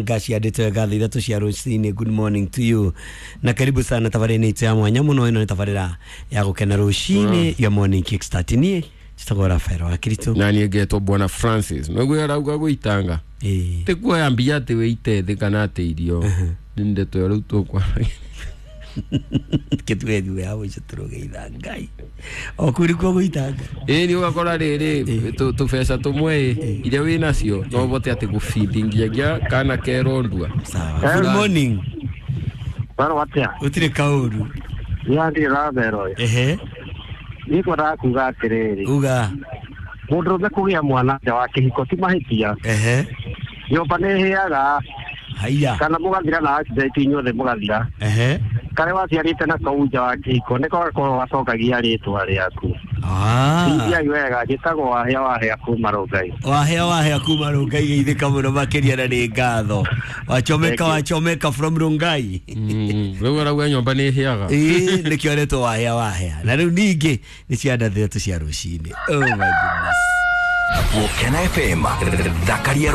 Ngaci andĩtwo ngatho ithatũ cia rũcinĩ. Good morning to you na karibu sana tabarĩra-inĩ itũ ya mwanya mũno. Ĩno nĩ tabarĩra ya gũkena rũcinĩ ya Morning Kickstart. Niĩ njĩtagwo Rafael wa Kiritũ. Na niĩ ngetwo Bwana Francis. Noguo arauga gũitanga Ĩĩ. ti kuoya mbia atĩ wĩite thĩ kana atĩ irio nĩ ndeto ĩyo rĩu tũkwaragia. Kĩtuge thutha ya mũico tũrũgeitha Ngai o kũu nĩkuo gũitanga. Ĩĩ, nĩ ũgakora rĩrĩ tũbeca tũmwe ĩ iria wĩ nacio no ũvote atĩ gũbindingiagia kana kerondua. Sawa, good morning. Barå atä Gũtirĩ kaũru. a ndirä rathero. Ehe. Niä kwendaga kuga atä rä rä uga. Må ndå rå me kå gä a mwana nja wa kä hiko ti mahä tia. Ehe. Nyåmba nä hä aga. Haiya. Kana må gathira na accident inyuothe må gathira. Ehe. Karä waciarä te na kau nja wa kä hiko nä kogakorwo gacokagia rä twa rä aku. Ah. Indiai wega, njä tagwo Wahĩa Wahĩa kuma Rũngai. Wahea wahea kuma Rungai, geithĩka mũno makĩria na nĩ ngatho. Wachomeka. Thank you. Wachomeka from Rungai. Rĩu arauga nyũmba nĩ ĩhĩaga. Ĩĩ, nĩkĩo aretwo Wahea Wahea. Na rĩu ningĩ nĩ cianda ithatũ cia rũcinĩ. Oh my goodness. Gũkena FM, thakaria.